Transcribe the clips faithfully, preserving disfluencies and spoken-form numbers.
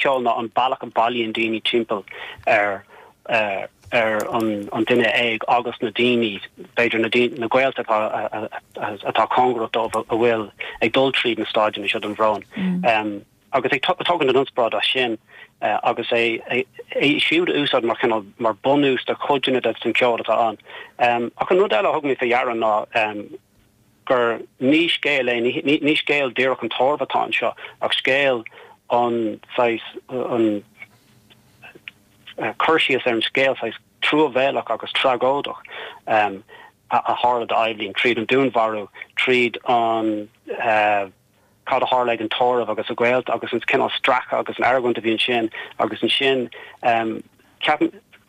ceol ná an bealach a bailíonn daoine timpeall ar uh, ar an, an duine éag agus na daoine b'fhéidir na, na gaolta atá cóngarach dóibh a bhfuil ag dul tríd na staideanna seo den bhrón. Mm. Um, agus ag tógaint an inspioráid as sin uh, agus é é, é siúd a úsáid mar cineál mar bunús do chuideanna den ceol atá ann. Um, ach an rud eile a thug mé faoi deara ná um, gur ní scéal é ní, ní scéal díreach an tórraimh atá anseo ach scéal an saghas an uh, cur síos ar an scéal saghas truamhéalach agus tragóideach um, a, a tharla d'Eibhlín tríd an dúnmharú tríd an uh, cad a tharla ag an tórramh agus a gaolta agus an cineál stracadh agus an argóint a bhí ansin agus ansin um,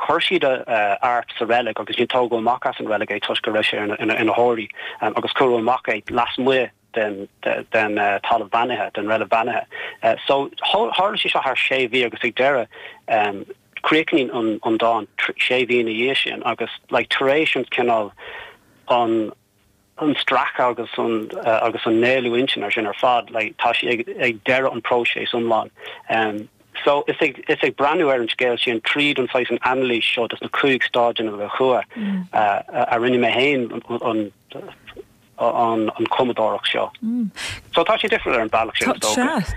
chuir siad uh, Art sa reilig agus ní tógadh amach as an reilig é toisc go raibh sé ina ina shuaraí um, agus cuireadh amach é lasmuigh den den uh, talamh beannaithe den reilig bheannaithe. Uh, so tharla sé seo thar sé mhí agus ag deireadh um, críochnaíonn an an dán sé mhí ina dhiaidh sin agus like, tar éis an cineál an an stracadh agus an uh, agus an néalú intinne ar sin ar fad like, tá sé ag, ag deireadh an próiseas iomlán. Um, so is ag is ag breathnú ar an scéal sin tríd an saghas an anailís seo des na cúig stáideanna a chua mm. uh, a rinne mé féin an an an cumadóireacht seo. Mm. So tá sé difriúil ar an bealach sin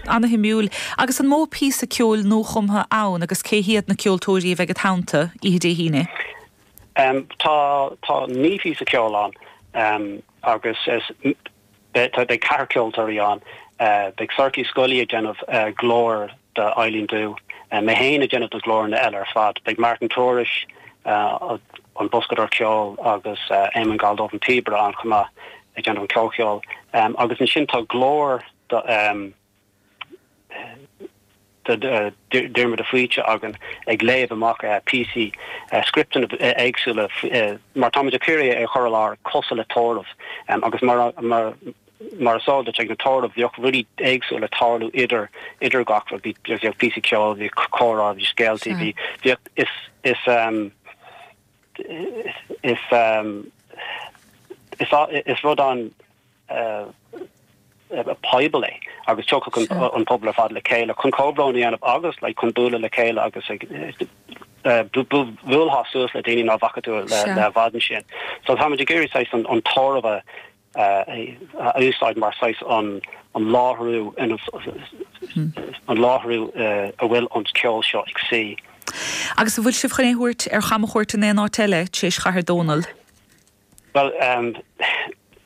An-shuimiúil agus an mó píosa ceoil nuachumtha ann agus cé hiad na ceoltóirí a bheidh i do theannta oíche Dé hAoine. Um, tá tá naoi bpíosa ceoil ann um, agus is tá beidh ceathrar ceoltóirí ann uh, beidh Sorcha Scully ag déanamh uh, glór d'Eibhlín Dubh uh, mé féin ag déanamh na glóranna eile ar fad beidh Martin Tourish uh, an boscadóir ceoil agus uh, Eamon Galdóf an píobaire ann chomh maith ag déanamh an comhcheol um, agus ansin tá glór do, um, Diarmuid de Faoite againn ag léamh amach uh, píosaí uh, scripteanna éagsúla uh, mar táimid ag iarraidh é chur ar cosúil le tórramh um, agus mar mar mar is eol duit ag na tórraimh bhíodh rudaí éagsúla ag tarlú idir idir gach rud bhí píosaí ceoil bhí comhrá bhí scéalta bhí bhíodh is is um, is um, is is rud an uh, poiblí agus tiocfaidh an pobal ar fad le chéile chun comhbhrón a dhéanamh agus le chun bualadh le chéile agus bualadh suas le daoine nach bhfaca tú le le i bhfad ansin. So táimid ag iarraidh an an tórramh a úsáid mar saghas an an láithriú an láithriú a bhfuil an ceol seo ag suí. Agus an bhfuil sibh chun é a thabhairt ar chamchuairt in aon áit eile tar éis Chathair Dónall? Well um,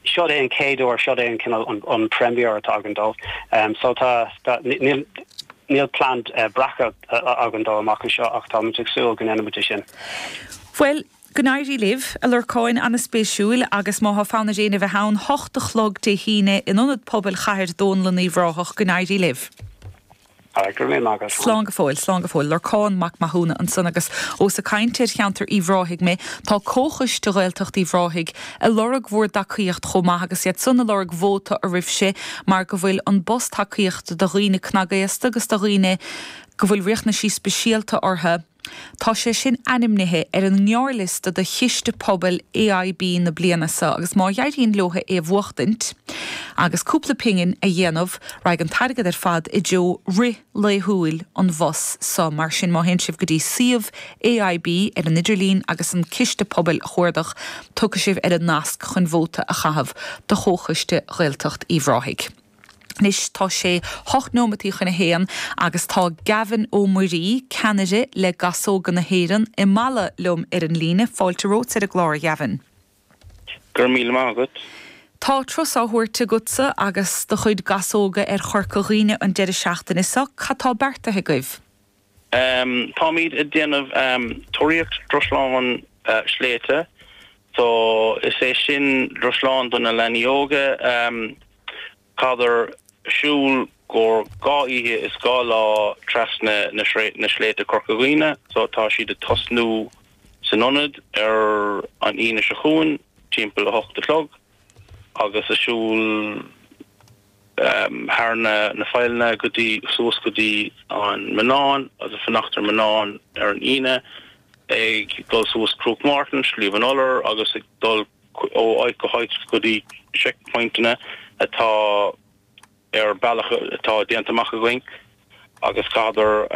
seo é an chéad uair seo é an cineál an, an premiere atá againn dó. Um, so tá níl níl plean uh, breactha uh, againn dó amach anseo ach tá ag súil go ndéanfaimid sin. Well, go n-éirí libh a Lorcáin an-spéisiúil agus má tá fonn ar éinne bheith ann hocht a chlog Dé hAoine in Ionad Pobail Chathair Dónall in Uíbh Ráthach go n-éirí libh. Slán go fóill slán go fóill Lorcán Mac Mathúna ansan agus ós ag caint ar cheantar Uíbh Ráthaigh mé tá Comhchoiste Ghaeltacht Uíbh Ráthaigh ag lorg bhur dtacaíocht chomh maith agus iad san ag lorg vóta oraibhse mar go bhfuil an bus tacaíochta do dhaoine cnagaosta agus do dhaoine go bhfuil riachtanaisí speisialta orthu. Tá sé sin ainmnithe ar an ngearrliosta do chiste pobail AIB na bliana seo agus má éiríonn leo é a bhuachtaint, agus cúpla pingin a dhéanamh raghaidh an t-airgead ar fad i dtreo rith laethúil an bhus so mar sin má théann sibh go dtí suíomh AIB ar an idirlíon agus an ciste pobail a chuardach tiocfaidh sibh ar an nasc chun vóta a chaitheamh do Chomhchoiste Ghaeltacht Uíbh Ráthaigh. Anois tá sé hocht nóimeataí chun a haon agus tá Gavin Ó Muirí ceannaire le Gasóga na hÉireann i Mala liom ar an líne fáilte romhat ar an gclár a Gavin. Gur míle maith agat. Tá turas á thabhairt agatsa agus do chuid gasóga ar Chorca Dhuibhne an deireadh seachtaine seo cad tá beartaithe agaibh. Um, Táimid ag déanamh um, tóraíocht drusláin uh, sléibhte, so is é sin drusláin do na leanaí óga um, caithfidh siúl gur dhá oíche is dhá lá trasna na, na sléibhte Corca Dhuibhne, so tá siad ag tosnú san ionad ar an Aoine seo chugainn timpeall a hocht a chlog agus ag siúl um, thar na na failleanna go dtí suas go dtí an Mionnán agus fanacht ar Mionnán ar an Aoine ag dul suas Cnoc Martin, Sliabh an Iolair agus ag dul ó áit go háit go dtí checkpointanna atá ar bealach atá déanta amach againn Agus chaitheadar